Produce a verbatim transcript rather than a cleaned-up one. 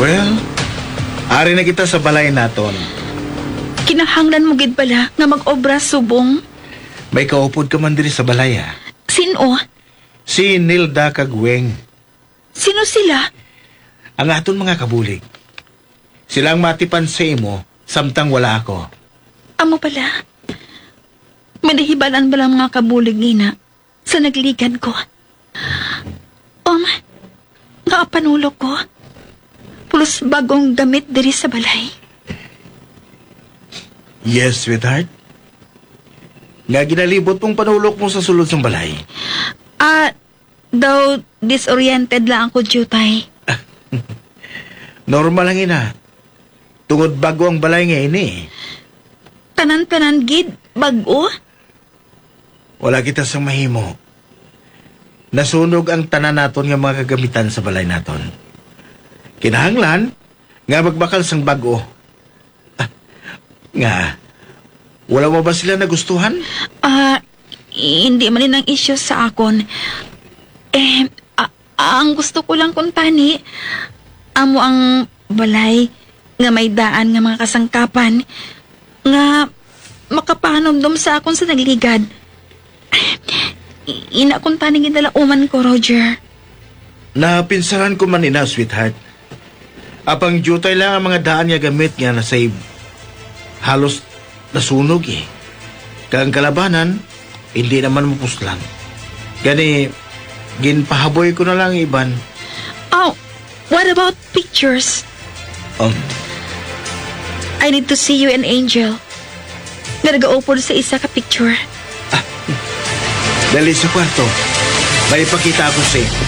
Well, ari na kita sa balay naton. Kinahanglan mo gid bala nga mag-obra subong? May kaupod ka man diri sa balay, ah. Sino? Si Nilda kag Weng. Sino sila? Ang aton mga kabulig. Sila ang matipan sa imo samtang wala ako. Amo pala. May nahibalaan bala ang mga kabulig nina sa nagligad ko? Um, nga panulok ko? Pulos bagong gamit diri sa balay. Yes, sweetheart. Nga ginalibot mong panulok mo sa sulod sang balay. Ah, daw disoriented lang ako, Jutay. Normal lang ina. Tungod bago ang balay nga ini. Tanan-tanan gid, bago? Wala kita sang mahimo. Nasunog ang tanan naton nga mga kagamitan sa balay naton. Kinahanglan nga magbakal sang bago. Ah, nga, wala mo ba sila nagustuhan? Ah, hindi man ang isyu sa akon. Eh, a- ang gusto ko lang kuntani, amo ang balay nga may daan nga mga kasangkapan nga makapahanumdom sa akon sa nagligad. Ina kuntani ginalauman ko, Roger. Napinsaran ko man ina, sweetheart. Apang diutay lang ang mga daan nga gamit nga nasave. Halos nasunog eh. Kag ang kalabanan, hindi naman mapuslan. Gani, ginpahaboy ko na lang ang iban. Oh, what about pictures? Um, I need to see you and Angel. Nga nagaupod sa isa ka picture. Ah, dali sa kwarto. May ipakita ako sa imo.